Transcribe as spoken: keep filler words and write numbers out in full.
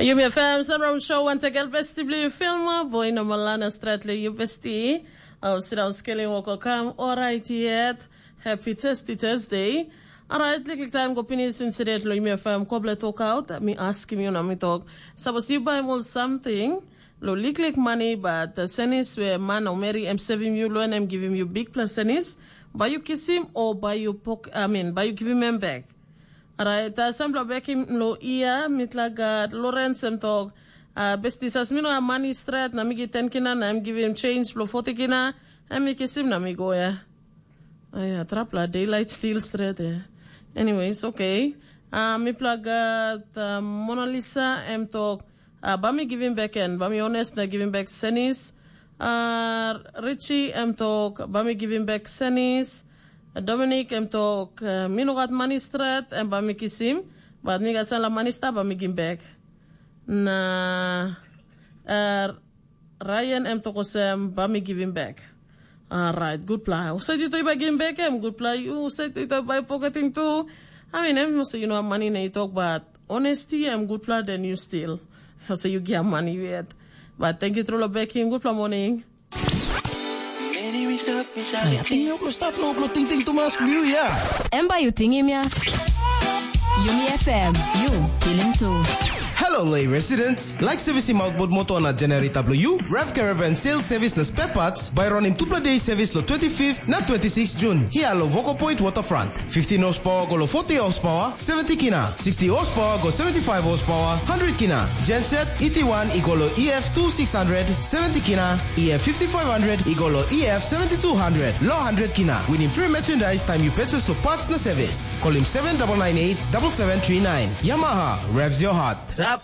Yumi F M Sunroom Show, wantagal besti bli filma, boy no malana stratli yu besti. Au sira skeling woko kam, alright yet. Happy Testy Thursday. Alright, liklik time go pinis insidet lo Yumi F M koble talk out. Mi askim yu na mi talk. Suppose you buy more something, lo liklik money, but the senis where man or Mary am saving you, lo and am giving you big plus senis. Buy you kiss him or buy you poke, I mean, buy you give him back. Orait, uh, sampela bekim lo ia, mitla gat Lawrence em tok, uh, bestisas mi no am mani stret, na mi gi ten kina, na em givim change blo forty kina, em mi kisim na mi go ya. Aya, trapla daylight still stret ya. Anyways, okay. Uh, mipla gat uh, Mona Lisa em tok, uh, ba mi givim bek en, ba mi honest na givim bek senis. Uh, Richie em tok, ba mi givim bek senis. Dominic em tok, uh, mi no gat mani stret, em ba mi kisim, but mi gat sala mani sta ba mi gim bek. Na uh, Ryan em tok osem, ba mi givim bek. Alright, gutpela. Usait yu toi bai givim bek em, gutpela. Yu usait yu toi bai poketing tu. I mean, em must you know money na you talk, but honesty em gutpela, then you still. So you give money yet. But thank you, Trula Bekim. Gutpela morning. Ai, ating mi oklo stap lo oklo ting ting tumas liu ya. Em bai yu tingim ya. Yumi F M, yu pilim tu. Hello, Lay residents. Like servicing outboard motor na generator blo you? Rev Caravan Sales Service na Spare Parts by running tupla day service lo twenty-fifth na twenty-sixth June. Here lo Voco Point Waterfront. fifteen horsepower go lo forty horsepower, seventy kina. sixty horsepower go seventy-five horsepower, hundred kina. Genset, E T one i go lo E F two six hundred, seventy kina. E F fifty-five hundred i go lo E F seventy-two hundred, lo hundred kina. Winim free merchandise time you purchase lo parts na service. Call him seven double nine eight double seven three nine. Yamaha, revs your heart. Top